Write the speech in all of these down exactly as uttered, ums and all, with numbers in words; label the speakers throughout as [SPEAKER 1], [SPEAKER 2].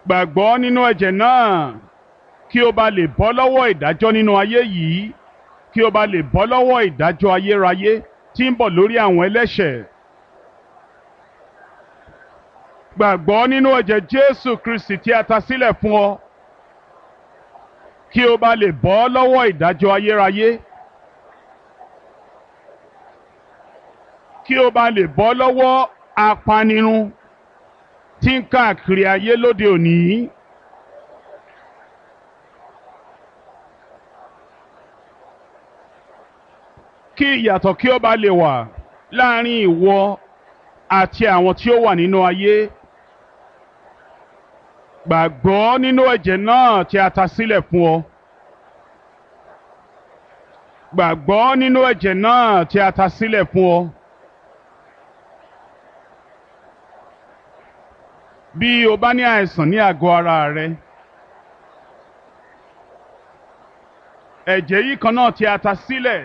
[SPEAKER 1] Gbàgbọ́ nínú ẹ̀jẹ̀ náà kí o bá lè bọ́ lọ́wọ́ ìdájọ́ nínú ayé yìí, kí o bá lè bọ́ lọ́wọ́ ìdájọ́ ayérayé tí ń bọ̀ lórí àwọn ẹlẹ́ṣẹ̀. Gbàgbọ́ nínú ẹ̀jẹ̀ Jésù Kristi tí a ta sílẹ̀ fún ọ, kí o bá lè bọ́ lọ́wọ́ ìdájọ́ ayérayé, kí o bá lè bọ́ lọ́wọ́ apanirun tí ń káàkiri ayé lóde òní. Kí ìyàtọ̀ kí ó bá lè wà láàrin ìwọ àti àwọn tí ó wà nínú ayé. Gbàgbọ́ nínú ẹ̀jẹ̀ náà tí a ta sílẹ̀ fún ọ. Gbàgbọ́ nínú ẹ̀jẹ̀ náà tí a ta sílẹ̀ fún ọ. Bí o bá ní àìsàn ní àgọ́ ara rẹ, ẹ̀jẹ̀ yìí kan náà tí a ta sílẹ̀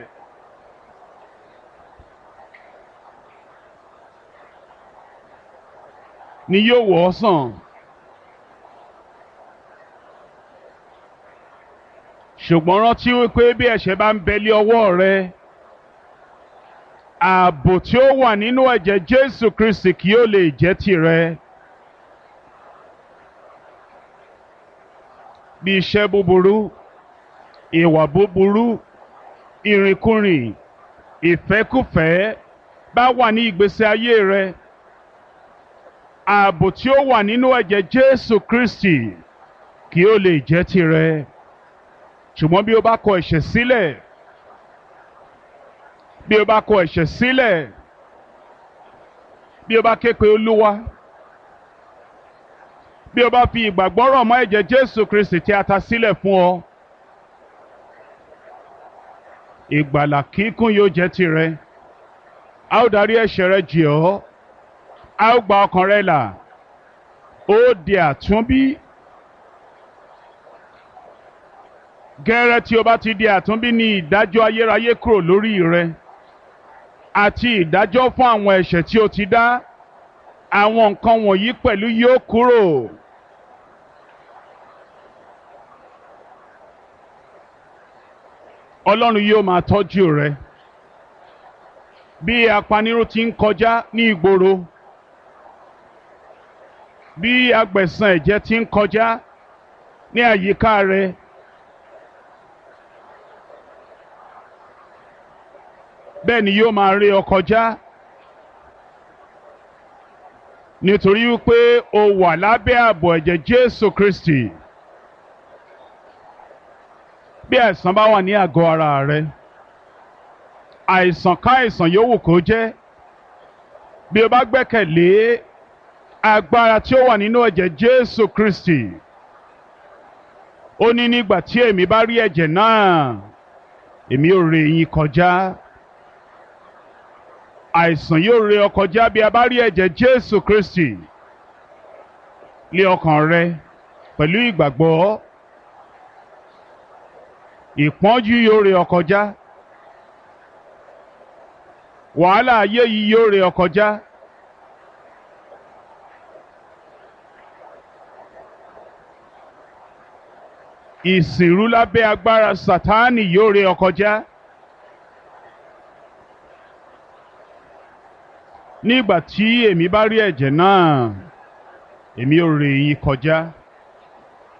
[SPEAKER 1] ni yóò wò ọ́ sàn. Ṣùgbọ́n rántí wípé bí ẹ̀ṣẹ̀ bá ń bẹ lé ọwọ́ rẹ, ààbò tí ó wà nínú ẹ̀jẹ̀ Jésù Kristi kì yóò lè jẹ́ tìrẹ. Bí iṣẹ́ búburú, ìwà búburú, ìrìnkúrìn, ìfẹ́kúfẹ̀ẹ́ bá wà ní ìgbésí ayé rẹ, ààbò tí ó wà nínú ẹ̀jẹ̀ Jésù Kristi kì yóò lè jẹ́ tìrẹ. Ṣùgbọ́n bí o bá kọ ẹ̀ṣẹ̀ sílẹ̀, bí o bá kọ ẹ̀ṣẹ̀ sílẹ̀, bí o bá ké pe Olúwa, bí o bá fi ìgbàgbọ́ rọ̀ mọ́ ẹ̀jẹ̀ Jésù Kristi tí a ta sílẹ̀ fún ọ, ìgbàlà kíkún yóò jẹ́ tìrẹ. A ó darí ẹ̀ṣẹ̀ rẹ jì ọ́, a ó gba ọkàn rẹ là, ó di àtúnbí. Gẹ́rẹ́ tí o bá ti di àtúnbí ní ìdájọ́ ayérayé kúrò lórí rẹ àti ìdájọ́ fún àwọn ẹ̀ṣẹ̀ tí o ti dá, àwọn nǹkan wọ̀nyí pẹ̀lú yóò kúrò. Ọlọ́run yóò máa tọ́jú rẹ. Bí apanirun ti ń kọjá ní ìgboro, bí agbẹ̀san ẹ̀jẹ̀ ti ń kọjá ní àyíká rẹ, bẹ́ẹ̀ ni yóò máa ré ọ kọjá, nítorí wípé o wà lábẹ́ ààbò ẹ̀jẹ̀ Jésù Kristi. Bí àìsàn bá wà ní àgọ́ ara rẹ, àìsàn káìsàn yòówù kó jẹ́, bí o bá gbẹ́kẹ̀lé agbára tí ó wà nínú ẹ̀jẹ̀ Jésù Kristi, ó ní nígbà tí èmi bá rí ẹ̀jẹ̀ náà, èmi ò ré yín kọjá. Àìsàn yóò ré ọ kọjá bí a bá rí ẹ̀jẹ̀ Jésù Kristi lé ọkàn rẹ pẹ̀lú ìgbàgbọ́. Ìpọ́njú yóò ré ọ kọjá. Wàhálà ayé yìí yóò ré ọ kọjá. Ìsìnrú lábẹ́ agbára Sátánì yóò ré ọ kọjá. Nígbà tí èmi bá rí ẹ̀jẹ̀ náà, èmi ó ré yín kọjá.